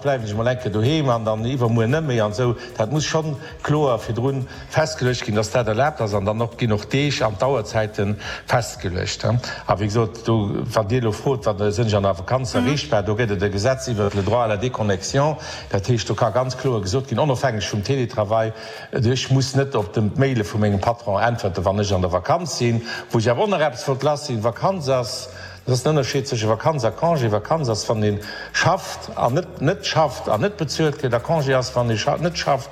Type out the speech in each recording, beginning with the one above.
Bleiwen ech mol eng Kéier doheem an dann iwwermuer net méi an esou. Dat muss schonn kloer virdrun festgeluecht ginn, dass dat erlaabt ass an dann och ginn och d'Deeg an d'Auerzäite festgeluecht. A wéi gesot, do, wann Dir elo frot, wa sinn ech an der Vakanz erreechbar, do gëtt et e Gesetz iwwert le droit à la déconnexion. Dat heescht, do ka ganz kloer gesot ginn, onofhängeg vum Télétravail, ech muss net op d'Maile vu mengem Patron äntwerten, wann ech an der Vakanz sinn. Wou ech awer och nach eppes wollt lassinn, Vakanz ass, Et ass den Ënnerscheed zwësche Vakanz a Congé. Vakanz ass, wann ee schafft an net net schafft an net bezuelt gëtt, a Congé ass, wann ee net schafft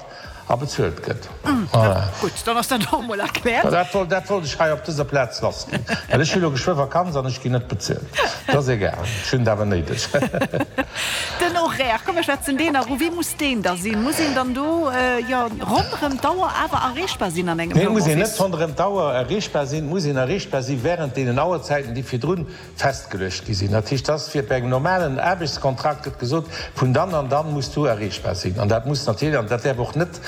a bezuelt gëtt. Voilà. Gutt, dann ass dat och emol erkläert. Dat wollt, dat wollt ech hei op dëser Plaz lassginn, well ech hu lo geschwë Vakanz an ech ginn net bezuelt. Dat ass egal, ech hunn et awer néideg. Den Horaire, komm mir schwätzen deen nach u. Wéi muss deen da sinn? Muss een dann do, jo, ronderëm d'Auer awer erreechbar sinn an engem Nee, muss een net ronderëm d'Auer erreechbar sinn. Muss een erreechbar si während deenen Auerzäiten, déi virdrun festgeluecht gi sinn. Dat heescht, dass fir bei engem normalen Aarbechtskontrakt gëtt gesot, vun dann an dann muss du erreechbar sinn. An dat muss natierlech, an dat däerf och net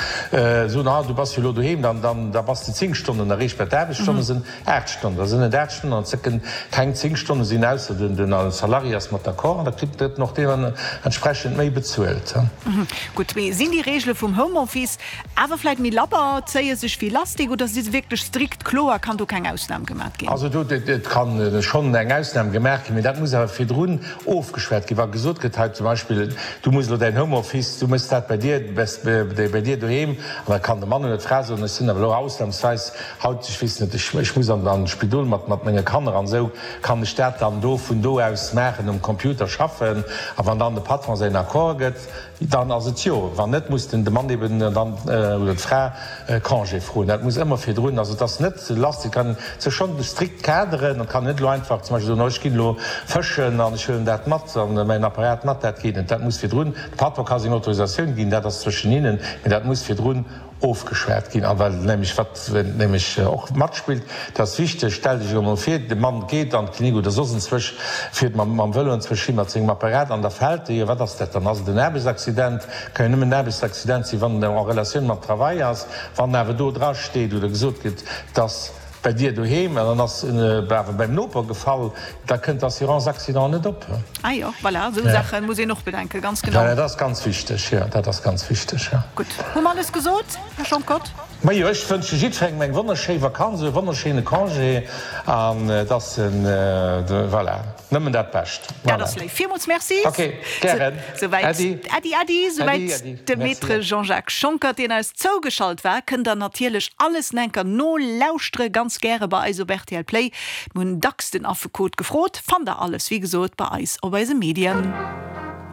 soen, ah du bass jo elo doheem, dann, dann, da bass de 10 Stonnen erreechbar. D'Aarbechtsstonne sinn 8 Stonnen, da sinn et 8 Stonnen an et kënnen keng 10 Stonne sinn, ausser den, den Salarié ass mat d'accord an da kritt en och deementsprechend méi bezuelt. Gutt, mee sinn déi Reegele vum Homeoffice Awer vläit méi labber, zéie sech wéi Lastik oder si se wierklech strikt kloer, kann do keng Ausnam gemat ginn? Also do, et kann schonn eng Ausnam gemaach ginn, mee dat muss awer virdrun ofgeschwat ginn. Wa gesot gëtt hei zum Beispill, du muss elo däin Homeoffice, du méchs dat bei dir, bei dir doheem, an da kann de Mann oder d'Fra soen, ech sinn awer elo ausnamsweis haut, ech weess net, ech muss an d'Spidol mat menge Kanner an esou, kann ech dat dann do vun do aus maachen, um Computer schaffen? A wann dann de Patron säin Accord gëtt, Dann ass et jo. Wann net, muss den de Mann eben dann oder d'Fra Congé froen. Dat muss ëmmer virdrun. Also et ass net lass. Et kann sech schonn strikt kaderen. Et kann net elo einfach zum Beispill soen, oh ech ginn elo fëschen an ech huelen dat mat an mäin Apparat mat. Dat geet net. Dat muss virdrun, de Patron ka seng Autorisatioun ginn, dat ass zwëschen hinnen, mee dat muss virdrun ofgeschwat ginn. A well nämlech, wat nämlech och matspillt, dat ass wichteg, Stellt Iech elo mol vir, de Mann geet an d'Klinik oder soss enzwousch, fiert mam mam Vëlo enzwousch hi mat sengem Apparat an da fält e. Jo, wat ass dat dann? Ass et en Aarbechtsaccident? Ka jo nëmmen en Aarbechtsaccident sinn, wann en en Relatioun mam Travail ass. Wann awer do drasteet oder gesot gëtt, dass bei dir doheem an dann ass en awer beim Noper gefall, da kënnt d'Assurance accident net op. Ah jo, voilà, esou Saache muss een och bedenken, ganz genau. Voilà, dat ass ganz wichteg, jo, dat ass ganz wichteg, jo. Gutt, hu mer alles gesot, Här Schonckert? Majo, ech wënsche jiddwerengem eng wonnerschéi Vakanz, e wonnerschéine Congé an dass en, voilà, nëmmen dat Bescht. Voilà. Dat ass léif. Villmools Merci. Ok, gären. Souwäit. Äddi. Äddi, äddi. Souwäit de Maître Jean-Jacques Schonckert, deen eis zougeschalt war. Kënnt der natierlech alles enker nolauschtere ganz gäre bei eis op rtl Play. Mir hunn dacks den Affekot gefrot. Fannt der alles, wéi gesot, bei eis op eise Medien.